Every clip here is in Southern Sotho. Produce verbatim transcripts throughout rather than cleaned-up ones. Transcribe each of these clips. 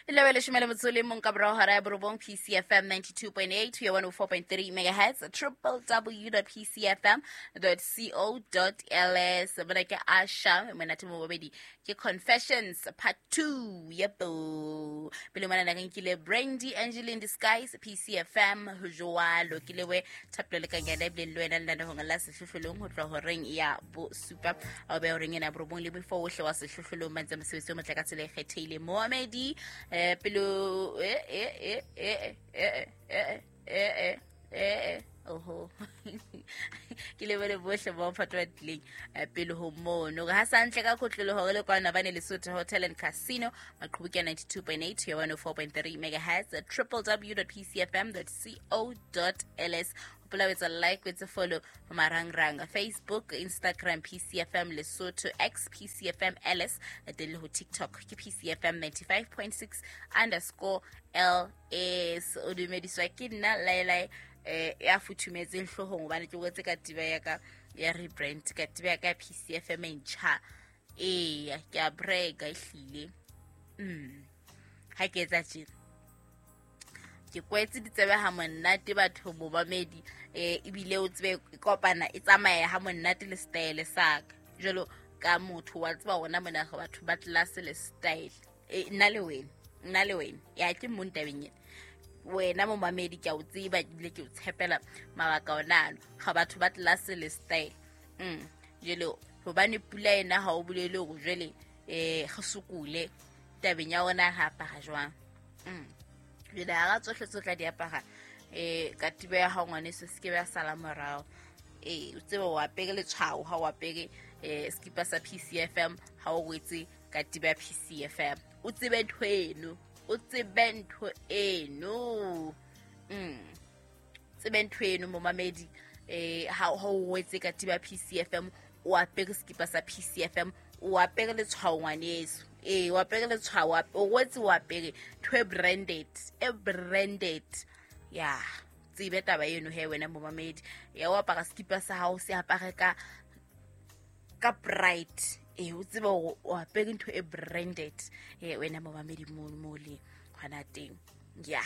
Lebe leshome le motso le mong ka borao hora ya borobong, P C F M ninety-two point eight ho ya one oh four point three megahertz, triple w dot p c f m dot co dot l s. Bona ke Asha monate mo bobedi ke Confessions part two. Yebo pele mona na nkile Brandy Angeline Disguise P C F M ho jwalo ke lewe thapelo le kangana ebile le wena le hong la sehlohlolong ho tloha horeng ya bo supa a be horeng ena borobong le before ohle wa sehlohlolong ba ntse mosebetsi o motle ka tsela e kgethehileng. Moamedi eh pelo eh eh eh eh eh eh eh eh oho ke le bone bohle ba phatwa tleng pele ho mono ha santle ka khotlolo hore le kwana bane Lesotho Hotel and Casino maqhubu ke ninety-two point eight to one oh four point three megahertz, triple w dot p c f m dot co dot l s. Hopola o etsa like, o etsa follow marangrang Facebook, Instagram P C F M Lesotho, X P C F M L S, teng le ho TikTok ke P C F M ninety-five point six underscore L S. O dumediswa ke nna Lailai eh ya futhumetseng hloohong hobane ke wetse ka tiba ya ka ya rebrand ka tiba ya ka P C F M e ntjha. Eya ke a brag ehlile. Mm ha ke etsa tjena ke kwetse ditsebe ha monate batho momamedi eh ebile o tsebe kopana e tsamaya ha monate le style sa ka jalo ka motho wa tseba ona mona ga batho ba class le style e nna le wena nna le wena ya ke mo ntabeng ena wena momamedi ke a o tseba ebile ke o tshepela mabaka ona ano ga batho ba class le style. Mm jalo hobane pula ena ha o bolele hore jwale eh re sokole tabeng ya ona ha apara jwang. Mm jwale ha tsohle tsohle di apara eh ka tiba ya hao ngwaneso se ke ba sala morao. Eh o tsebe o apere letshwao ha o apere eh skipa sa P C F M ha o wetse ka tiba ya P C F M o tsebe ntho eno o tsebe ntho eno. Mm tsebe ntho eno momamedi eh ha o wetse ka tiba ya P C F M o apere skipa sa P C F M o apere letshwao ngwaneso. Eh o apere letshwao o wetse o apere ntho e branded e branded ya tsebe taba eno he wena momamedi ya o apara skipa sa hao se apare ka ka bright eh o tsebe o apere ntho e branded eh wena momamedi mo mo le hona teng ya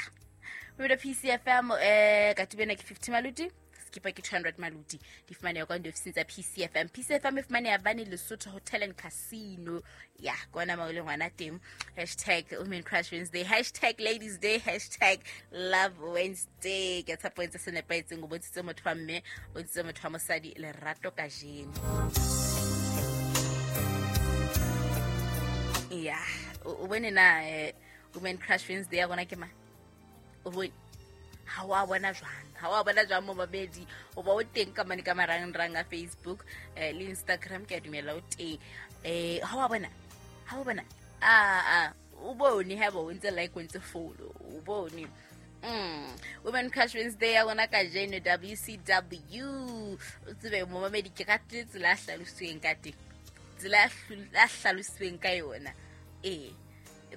we P C F M eh ka tibena ke fifty maluti skipa ke two hundred maluti di fumaneha kwa diofising tsa P C F M. P C F M e fumaneha bane Lesotho Hotel and Casino ya kona mo le ngwana teng. Hashtag Women Crush Wednesday, hashtag Ladies Day, hashtag Love Wednesday. Ke tshepo ntse se nepahetseng o bontshitse motho wa mme o bontshitse motho wa mosadi lerato kajeno. Ya o bone na Women Crush Wednesday ya rona ke ma o bone ha wa bona jwang ha wa bona jwang momamedi o ba o teng ka mane ka marangrang a Facebook eh, le Instagram ke a dumela o teng eh ha wa bona ha wa bona a a o bone ha bo ntse like o ntse follow o bone. Mm Women Crush Wednesday ya rona kajeno W C W o tsebe momamedi ke ka tsela a hlalositsweng ka teng tsela a hlalositsweng ka yona eh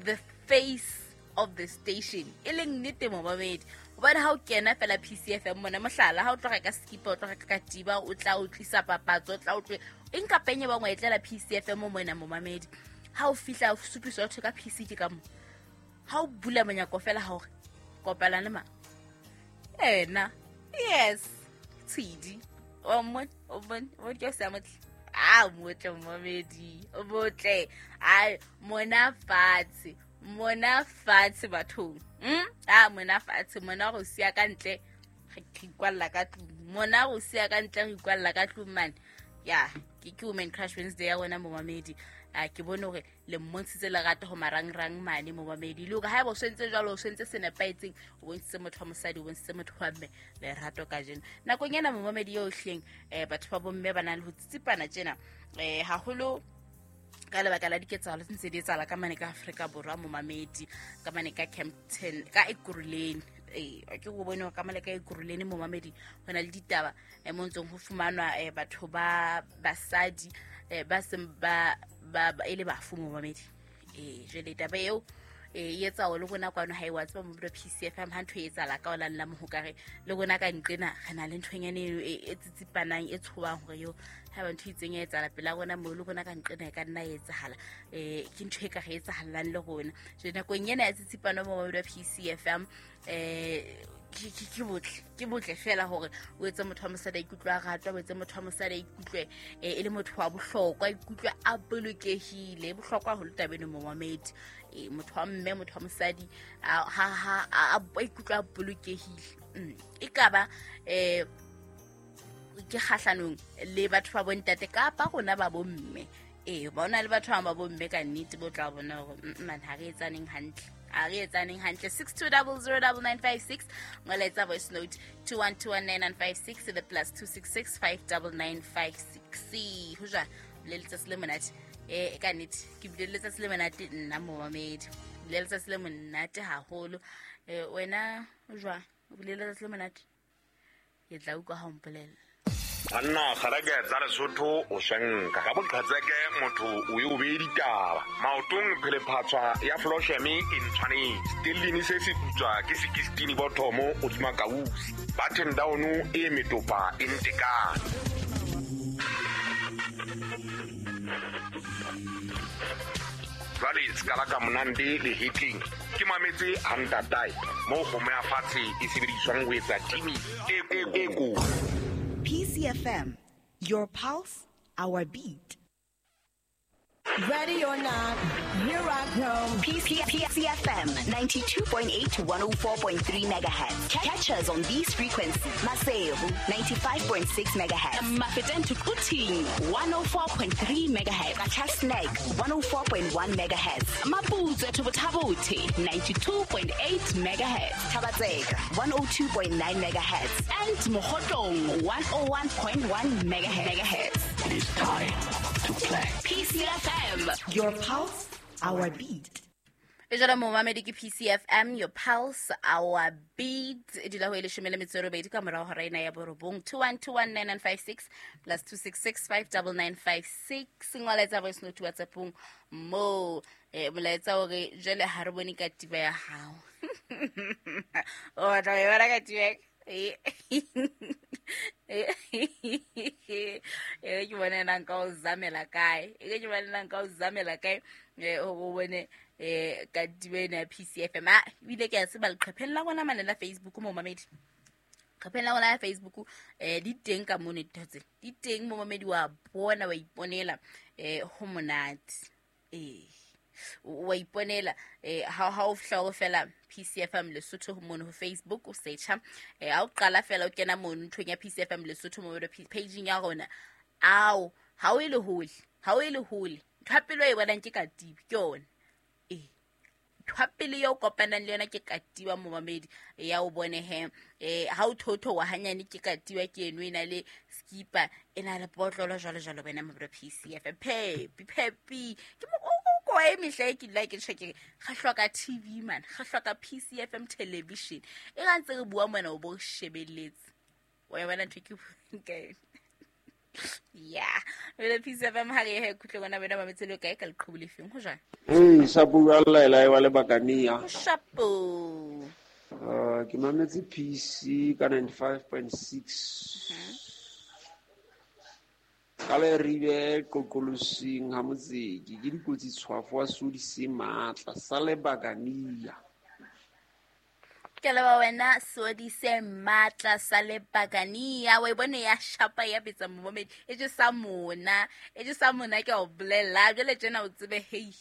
the face of the station e leng nnete momamedi hobane ha o kena fela P C F M mona mohlala ha o tloga ka skipa o tloga ka katiba o tla o tlisa papatso o tla o tle eng kapa eng e bangwe e tlela P C F M mona momamedi ha o fihla o supiswa thwe ka P C ke ka mo ha o bula monyako fela ha hore kopana le ma ena yes tshidi o mo o bon o ke sa motle a motle momamedi o motle a mona fatshe mona fatshe bathong mm a mona fatshe mona go sia ka ntle re ikwalla ka tlung mona go sia ka ntle re ikwalla ka tlung man ya ke ke Women Crush Wednesday ya rona momamedi a ke bone hore le mmontshitse lerato ho marangrang mane momamedi le hore ha eba o sentse jwalo o sentse se nepahetseng o bontshitse motho wa mosadi o bontshitse motho wa mme lerato kajeno nakong ena momamedi yo hleng eh batho ba bomme ba nang le ho tsitsipana tjena eh haholo ka lebaka la diketsahalo tse ntse di etsahala ka mane ka Afrika Borwa momamedi ka mane ka Kempton ka Ekurhuleni eh ke go bone ka mane ka Ekurhuleni momamedi ho na le ditaba eh mo ntsong ho fumanwa batho ba basadi ba seng ba ba e le bafu momamedi eh jwale taba eo e etsa o le rona kwano ha e wa tseba mo P C F M ha ntho e etsahala ka ola nna mohokare le rona ka nqena re na le nthonyane e tsitsipanang e tshobang hore yo ha ba ntho itseng e etsahala pela rona mo le rona ka nqena e ka nna e etsahala eh ke ntho e ka re etsahalang le rona jwale nakong ena ya tsitsipano mo P C F M eh ke ke botle ke botle fela hore o etse motho wa mosadi a ikutlwe a ratwa, o etse motho wa mosadi a ikutlwe e le motho wa bohlokwa, a ikutlwe a bolokehile. Bohlokwa haholo taba eno momamedi, motho wa mme, motho wa mosadi ha ha a ikutlwe a bolokehile. E ka ba eh ke kgahlanong le batho ba bontate kapa rona ba bomme. Eh bona le batho ba bomme ka nnete bo tla bona hore man ha re etsaneng hantle. A re etsaneng hantle. Six two double zero double nine five six ngwaletsa voice note two one two one nine nine five six the plus two six six five double nine five six. Ho jwa le letsatsi le monate eh ka nnete ke bile letsatsi le monate nna momamedi, le letsatsi le monate haholo. Eh wena o jwa o bile letsatsi le monate, ke tla utlwa ha o mpolela. Anna kgarake tsa Lesotho o swenka ka boqhatseke motho o e o be ditaba maotong phele phatswa ya flosheme e ntshwanetse stellini se se putswa ke sixteen bothomo o dima kausi button down e metopa e ntekane. Jwale skala ka monande le hitling ke mametse hantatai mo kgomo ya fatshe e sebediswang ho etsa timi e ko. P C F M, your pulse, our beat. Ready or not, here I come. P C F M ninety-two point eight to one oh four point three megahertz. Catch us on these frequencies. Maseru ninety-five point six megahertz. Mafeteng to Quthing one oh four point three megahertz. Qacha's one oh four point one megahertz. Maputswe to Botha-Bothe ninety-two point eight megahertz. Thaba-Tseka one oh two point nine megahertz. And Mokhotlong one oh one point one megahertz. It is time to play. P C F M, your pulse, our beat. E jalo momamedi ke P C F M, your pulse, our beat. E dula ho e leshome le metso e robedi ka morao hora ena ya borobong. Two one two one nine nine five six plus two six six five double nine five six. Ngwaletsa voice note WhatsAppong mo eh molaetsa hore jwale ha re bone katiba ya hao. O tla e bona katiba. Eh ke bone nang ka o zamela kae, e ke bone nang ka o zamela kae eh o bone eh katiba ena ya P C F M. Ah ebile ke a tseba leqhepheng la rona mane la Facebook mo mamedi, leqhepheng la rona la Facebook eh di teng ka mono ditho tse di teng mo mamedi wa bona wa iponela eh ho monate eh wa iponela eh ha ha o fihla o fela P C F M Lesotho mono ho Facebook o searcha eh ha o qala fela o kena mono nthong ya P C F M Lesotho mo page ya rona ao ha o ile hole ha o ile hole ntho pele e bonang ke katiba ke yona eh ntho pele yo kopanang le yona ke katiba momamedi ya o bone he eh ha o thotho wa hanyane ke katiba ke eno ena le skipa ena le potlolo jwalo jwalo bena mo P C F M pepi pepi ke mo ko e mehla e ke dula ke tjho ke ga hloka T V man, ga hloka P C F M television e ga ntse re bua mona o bo shebeletse wa bona ntho ke ka yeah le P C F M ha re he khutle gona bena ba metselo kae ka leqhubu le feng ho jwang. Hey shapo wa lela e wa le bakania shapo uh ke mametse P C ka ninety-five point six ka le ribe qoqolosing ha motseki ke dikotsi tshwafo wa sodi se matla sa le bakania. Ke leba wena sodi se matla sa le bakania wa bone ya shapa ya betsa momedi e je sa mona e je sa mona ke o bolela jwale tjena o tsebe hei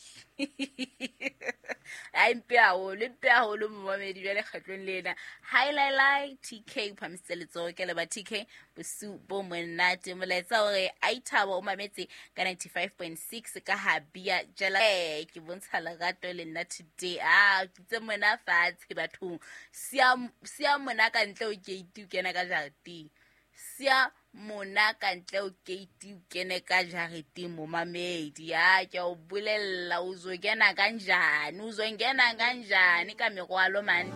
ai mpe haholo mpe haholo momedi jwale kgatlong lena highlight T K phamisitse letsoho ke leba T K bosiu bo monate molaetsa hore a ithaba o mametse ka ninety-five point six ka habia jela ke bontsha lerato le nna today ah ke tse mona fatshe bathong sia sia mona ka ntle o gate o kena ka jareteng sia mona ka ntle o gate o kene ka jareteng momamedi ya ke o bolella o zo kena kanjani o zo ngena kanjani ka merwalo man.